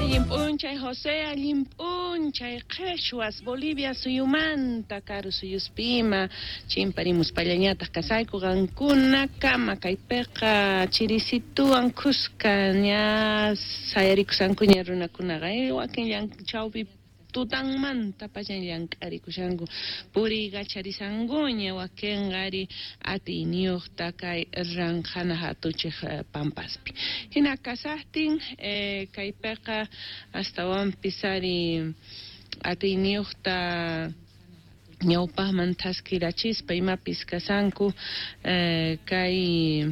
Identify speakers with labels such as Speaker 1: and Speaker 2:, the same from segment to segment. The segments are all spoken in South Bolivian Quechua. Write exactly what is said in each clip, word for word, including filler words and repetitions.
Speaker 1: Allin p'unchay José, allin p'unchay qheshwas Bolivia suyumanta karu suyuspima chimparimuspallañataq kasayku qankunakama kaypiqa chirisituwan khuska ña sayarikusankuña runakunaqa eh, wakin chawpi tutanmanta pachan llank'arikushanku puriykacharisankuña wakinqa ari atiyniyuqta kay ranqhana hatuchiq pampaspi hina kasaqtin eh, kaypiqa astawanpis ari atiyniyuqta ñawpaqman thaskirachispa imapis kasanku eh, kay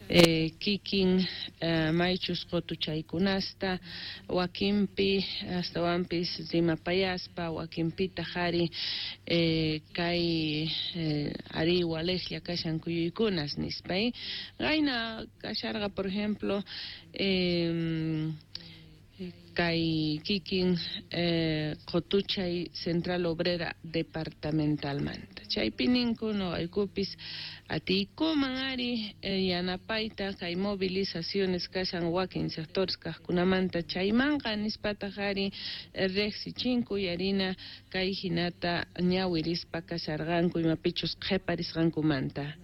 Speaker 1: Eh, kikin eh, maychus qutuchaykunasta wakinpi astawanpis rimapayaspa wakinpitaq ari eh, kay eh, ari walejlla kashan kuyuykunas nispa eh. Qayna kasharqa por ejemplo eh, kay kikin eh, qutuchay Central Obrera Departamentalmanta chaypi ninku noqaykupis atiykuman ari eh, yanapayta kay movilizaciones kashan wakin sectores kaqkunamanta chaymanqa nispataq ari eh, riqsichinku yarina kay hinata ñawirispa kasharqanku imapichus qhiparisqankumanta.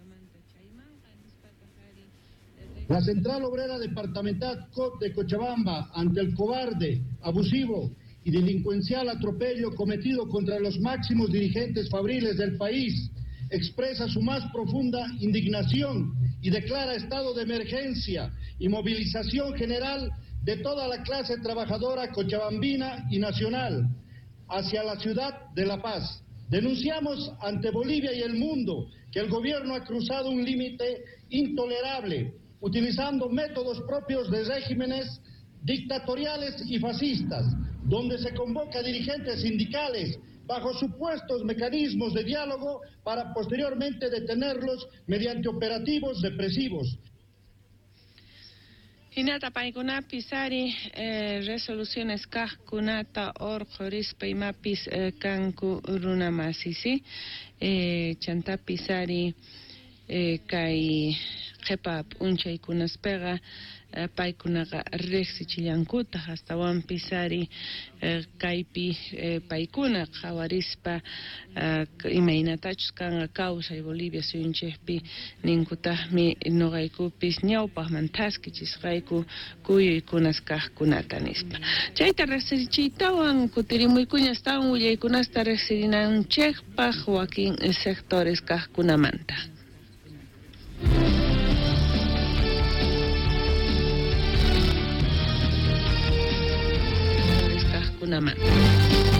Speaker 2: La Central Obrera Departamental C O T de Cochabamba, ante el cobarde, abusivo y delincuencial atropello cometido contra los máximos dirigentes fabriles del país, expresa su más profunda indignación y declara estado de emergencia y movilización general de toda la clase trabajadora cochabambina y nacional hacia la ciudad de La Paz. Denunciamos ante Bolivia y el mundo que el gobierno ha cruzado un límite intolerable, utilizando métodos propios de regímenes dictatoriales y fascistas, donde se convoca a dirigentes sindicales bajo supuestos mecanismos de diálogo para posteriormente detenerlos mediante operativos represivos.
Speaker 1: Hinata paykunapis ari eh, resoluciones kaqkunata urqhurispa imapis eh, kanku runamasi, ¿sí? Eh, chantapis ari eh, kay qhipa p'unchaykunaspiqa eh, paykunaqa riqsichillankutaq astawanpis ari eh, kaypi eh, paykuna qhawarispa eh, imaynatachus kanqa kawsay Bolivia suyunchikpi ninkutaqmi noqaykupis ñawpaqman thaskichisqayku kuyuykunas kaqkunata nispa. Chayta riqsichiytawan kutirimuykuña astawan willaykunasta riqsirinanchikpaq wakin sectores kaqkunamanta. Kaqkunamanta.